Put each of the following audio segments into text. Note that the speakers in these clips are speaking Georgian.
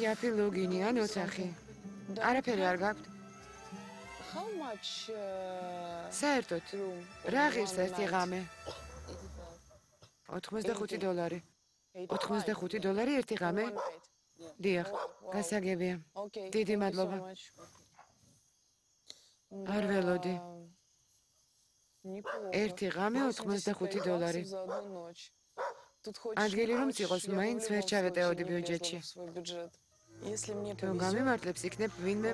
იაფი ლოგინი ან ოთახი. არაფერი არ გაქვთ. საერთოდ, რა ღირს ერთი ღამე? $85. $85 ერთი ღამე? დიახ, გასაგებია. დიდი მადლობა. არ ველოდი. ერთი ღამე $85. ადგილი რომ წიყოს, მაინც ვერ ჩავეტეოდი ბიუჯეტში. თუ გამიმართლებს, იქნებ ვინმე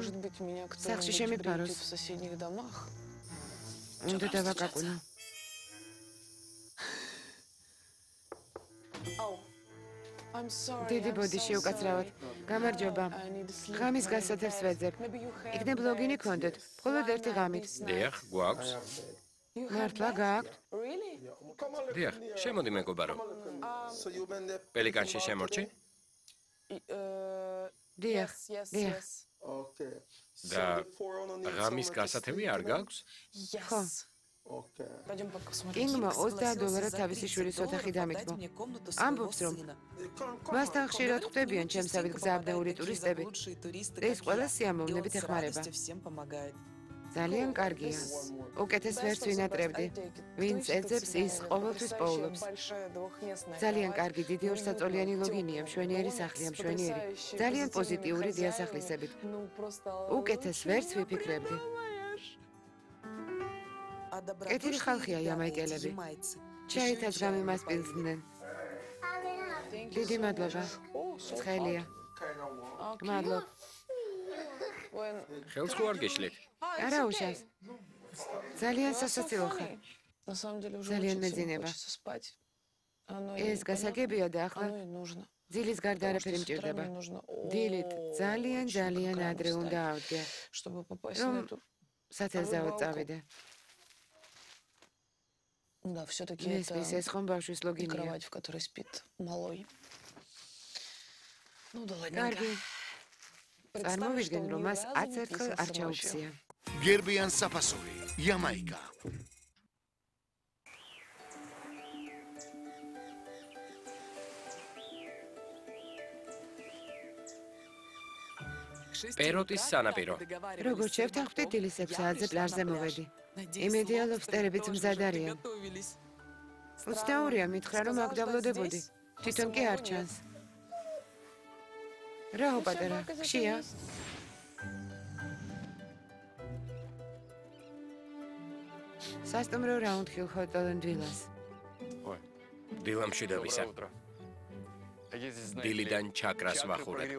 სახლში შემიფაროს. უნდა დავაკაკუნო. დიდი ბოდიში უკაცრავად. გამარჯობა. ღამის გასათევს ვეძებ. იქნებ ლოგინი გქონდეთ, მხოლოდ ერთი ღამით. დიახ, გვაქვს. მართლა გააქვთ? დიახ, შემოდი მეგობარო. პელიკანში შემორჩი? დიახ, დიახ. და ღამის გასათევი არ გაქვს? ხო. კინგმა $20 თავისი შვილის ოთახი დამიტყო. ამბობს, რომ მასთან ხშირად ხვდებიან ჩემსავით გზააბნეული ტურისტები. ეს ყველა სიამოვნებით ეხმარება. ძალიან კარგია. უკეთეს ვერც ვინატრებდი. ვინც ეძებს, ის ყოველთვის პოულობს. ძალიან კარგი დიდი ორსაწოლიანი ლოგინია, მშვენიერი სახლია, მშვენიერი. ძალიან პოზიტიური დიასახლისებით. უკეთეს ვერც ვიფიქრებდი. კეთილი ხალხია იამაიკელები. ჩაითაც გამიმასპინძდნენ. დიდი მადლობა. ცხელია. მადლობ. ხელს ხო არ გეშლით? არა უშავს. ძალიან სასაცილო ხარ. ძალიან მეძინება. ეს გასაგებია და ახლა დილის გარდა არაფერი მჭირდება. დილით ძალიან ადრე უნდა ავდგე, რომ სათევზაოდ წავიდე. Да, всё-таки это ეს ხომ ბავშვის ლოგინია. кровать, в которой спит малой. Ну да ладно. კარგი. წარმოვიდგენ, რომ მას 10 ერთხელ არ ჩაუხსია. გერბიან საფასური, იამაიკა. პეროტის სანაპირო. როგორც შევთანხმდით, დილის 6 საათზე პლაჟზე მოვედი. იმედია ლობსტერებიც მზად არიან. 22-ია, მითხრა, რომ აქ დავლოდებოდი. თვითონ კი არ ჩანს. რაო პატარა, ხშია? სასტუმრო რაუნდ ჰილ ჰოტელ and villas. დილამში დავისა. დილიდან ჩაკრას ვახურებ.